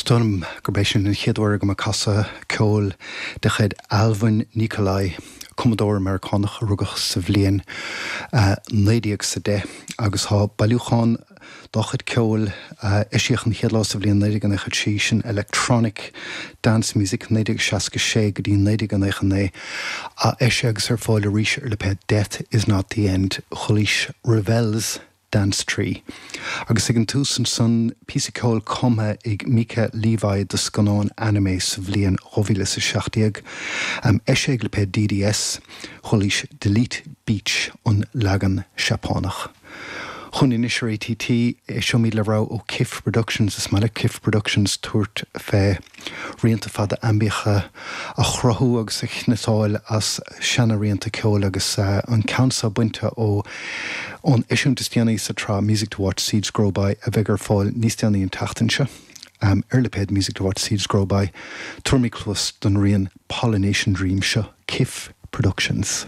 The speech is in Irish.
Is dóigh liom gurb é sin an chéad uair agam ag casadh ceoil de chuid Alvin Nikolai, cumadóir Meiriceánach a rugadh sa bhliain 1910 agus tá bailiúchán dá chuid ceoil a eisíodh an chéad lá sa bhliain 1996, sin Electronic Dance Music 1966 go dtí 1999, á eisiadh agus ar fáil arís ar lipéad Death Is Not The End, Chualaís Ravel's Dance Tree. Agus ag an tús ansan, píosa ceoil cumtha ag Mica Levi do scannán anime sa bhliain 2017, eisithe ag lipéad DDS, chualaís Delete Beach, an leagan Seapánach. Chugainn anois ar ATT, éisteoimid le rogha ó Kif Productions. Is maith le Kif Productions tabhairt fé rianta fada aimbiacha a chruthú agus a chniotáil as seana-rianta ceoil agus an ceann seo bainte ó ón eisiúint is déanaí sa tsraith Music to Watch Seeds Grow By a bheidh ar fáil níos déanaí an tseachtain seo ar lipéad Music to Watch Seeds Grow By. Tabharfaimid cluas don rian Pollination Dream seo, Kif Productions.